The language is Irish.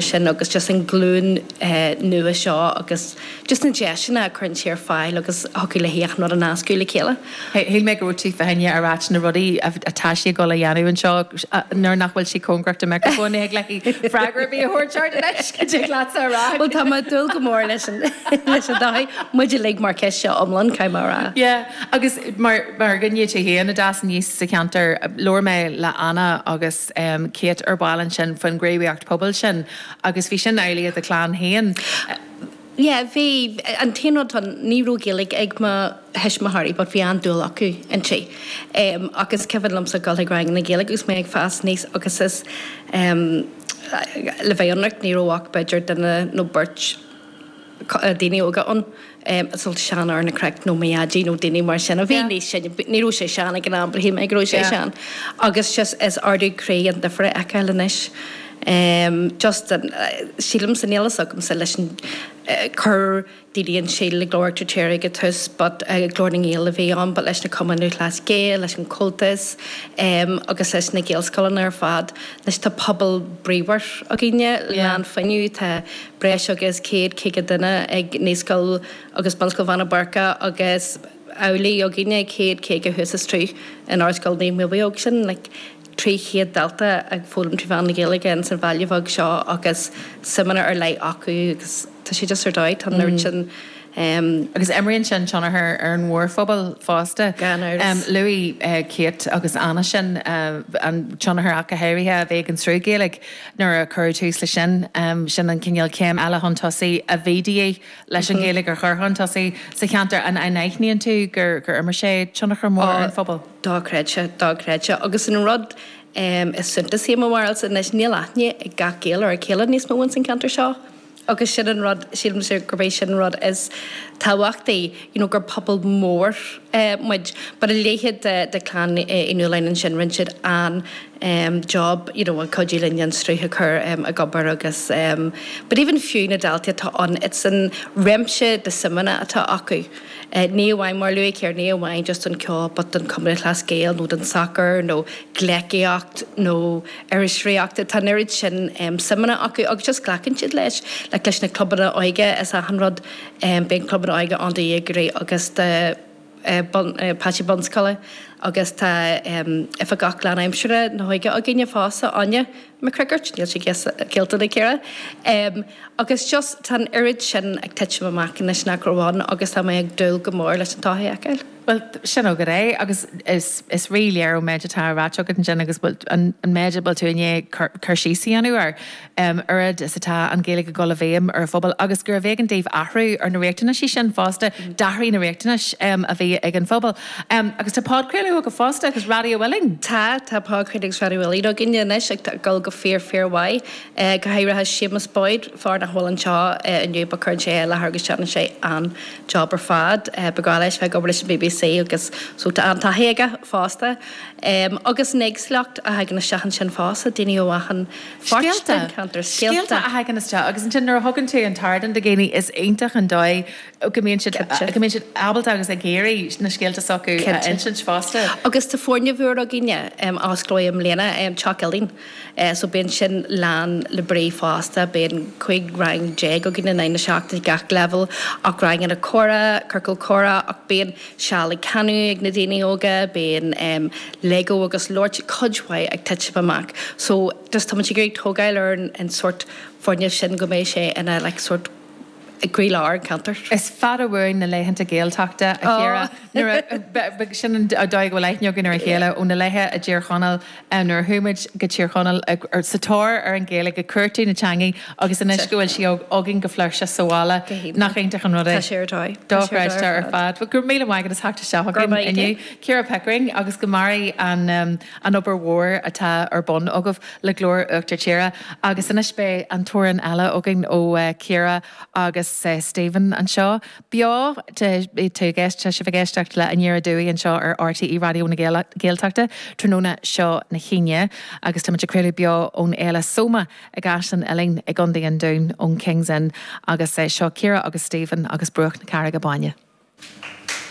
Sin agus just an glúin nua seo agus just na deiseanna a chuireann sé ar fáil agus thiocfadh le achan rud a nascadh le chéile. Shíl mé go raibh tú fá choinne a ráit na rudaí atá sí ag dul a dhéanamh anseo nuair nach bhfuil sí cóngarach do micreafón ní thig léi freagra ar bith a thabhairt ort anois, go dtig leatsa a rá. Bhuel tá mé ag dúil go mór leis an leis an dóigh muid uilig mar ceist seo iomlán, caithfidh mé a rá. Yeah agus mar mar dhuine tú féin a d'fhás aníos sa cheantar, labhair mé le Anna agus Kate ar ball ansin faoin ghníomhaíocht pobail sin agus bhí sin amhlaidh i do chlann féin. Yeah, bhí. An t-aon rud atá ann, ní raibh Gaeilge ag mo thuismitheoirí but bhí an-dúil acu inti. Ach is cuimhin liomsa dul chuig ranganna Gaeilge agus mé ag fás aníos agus is, le bheith ionraic, ní raibh ach b'fhéidir duine nó beirt, daoine óga ann, sórt seanfhear na craic nó mo dhaidí nó daoine mar sin a bhí níos sine, ní raibh sé sean ag an am but shíl mé go raibh sé sean. Agus just is ardú croí an difear a fheiceáil anois. Just sílimse, níl fhios agamsa leis an cur daoine an síl le Glór Uachtar Tíre ag an tús but Glór na nGael a bhí ann but leis na Cumainn Lúthchleas Gael, leis an Comhaltas agus leis na Gaelscoileanna ar fad, anois tá pobal bríomhar againne, lán fuinnimh, tá breis agus 100, 50 duine ag Naíscoil agus Bunscoil Bheanna Boirche agus amhlaidh againne, 100, 50 thuas istigh in Ardscoil Naomh Muibeadh. Sin like 300 dalta ag foghlaim trí mheán na Gaeilge ins an bhaile bheag seo agus suimeanna ar leith acu agus tá sé just ar dóigh, tá an oiread sin. Agus imríonn sin tionchar ar an mhórphobal fosta. Gan amhras. Luaigh Kate agus Anna sin, an tionchar ach go háirithe a bhí ag an sruth Gaeilge. Nuair a cuireadh tús leis sin, sin an cineál céim eile chun tosaigh a bhí de dhíth leis an Ghaeilge a chur chun tosaigh sa cheantar. An aithníonn tú gur imir sé tionchar mór ar an phobal? Dochreidte, dochreidte. Agus an rud is suntasaí i mo bharúilsa anois, níl aithne ag gach Gael ar a chéile níos mó ins an cheantar seo. Agus sin an rud, sílimse gurb é sin an rud is tábhachtaí, you know, gur pobal mór muid. But a leithéid de, de Clann Uí Nualláin ansin, rinne siad an-job, you know, ag cuidiú linn an sruth a chur ag obair agus but even fiú na daltaí atá ann, it's an réimse de suimeanna atá acu. Ní amháin, mar a luaigh Ciara, ní amháin just don cheol but don Chumann Lúthchleas Gael nó don sacar nó gleacaíocht nó iriseoireacht. Tá an oiread sin suimeanna acu agus just glacann siad leis, like leis na clubanna óige is achan rud, bíonn clubanna óige ann do dhéagóirí agus do pháistí bunscoile agus tá oifigeach lánaimseartha na hóige againne fosta, Áine McCrickard, níl sé géillte do Ciara. Agus just tá an oiread sin ag titim amach anois nach raibh ann agus tá mé ag dúil go mór leis an todhchaí a fheiceáil. Bhuel, sin agat é agus is is rí-léir ón méid atá ráite agat ansin agus an méid a bhfuil tú i ndiaidh cur síos a dhéanamh air, oiread is atá an Ghaeilge ag dul i bhfeidhm ar an phobal agus gurbh éigean daoibh athrú ar na riachtanaisí sin fosta, d'athraigh na riachtanais a bhí ag an phobal. Agus tá podchraoladh agaibh fosta agus Raidió Uillinn. Tá, tá podchraoladh agus Raidió Uillinn againne anois ag dul go fíor fíor mhaith. Go háirithe Séamus Boyd, fear nach bhfuil anseo inniu but cuireann sé é i láthair agus déanann sé an job ar fad. Ba ghnách leis bheith ag obair leis an bbc agus so tá an-taithí aige fosta. Agus an éagsúlacht a thagann isteach ansin fosta, daoine ó achan pháirt den cheantar. Scéalta a thagann isteach agus ansin nuair a thugann tú an t-ardán do dhaoine is iontach an dóigh go mbíonn siad go mbíonn siad ábalta agus ag iarraidh na scéalta s'acu a insint fosta. Agus tá foirgneamh úr againne a osclóidh i mbliana, Teach Uillinn. So bíonn sin lán le brí fosta. Bíonn 15 rang againn in aghaidh na seachtaine, gach leibhéal, ach ranganna comhrá, ciorcal comhrá, ach bíonn seal ag canadh ag na daoine óga, bíonn Lego agus labhairt, cuid mhaith ag titim amach. So just tá muid ag iarraidh tógáil ar an sórt foirgneamh sin go mbeidh sé ina like sórt i gcroílár an cheantair. Is fada uainn na laethanta Gaeltachta, a Chiara. Nuair a, sin an dóigh go bhfuil aithne againn ar a chéile, ó na laetha i dTír Chonaill, nuair a chuaigh muid go Tír Chonaill sa tóir ar an Ghaeilge, ag cuartú na teangaidh agus anois go bhfuil sí againn go flúirseach sa bhaile. Nach iontach an rud é? Tá sé ar dóigh. Dochreidte ar fad. Bhuel, go raibh míle maith agat as theacht isteach chugainn inniu. Ciara Pickering, agus go maire an an obair mhór atá ar bun agaibh le Glór Uachtar Tíre. Agus anois beidh an t-amhrán eile againn ó Chiara agus Stephen anseo beo. Tá tú ag tá sibh ag éisteacht le Aniar Aduaidh anseo ar RTÉ Raidió na Gaeltachta tráthnóna seo na hAoine agus táimid ag craoladh beo ón Fhéile Soma i gCaisleán Uidhilín i gContae an Dúin ón King's Inn agus seo Ciara agus Stephen agus Bruach na Carraige Báine.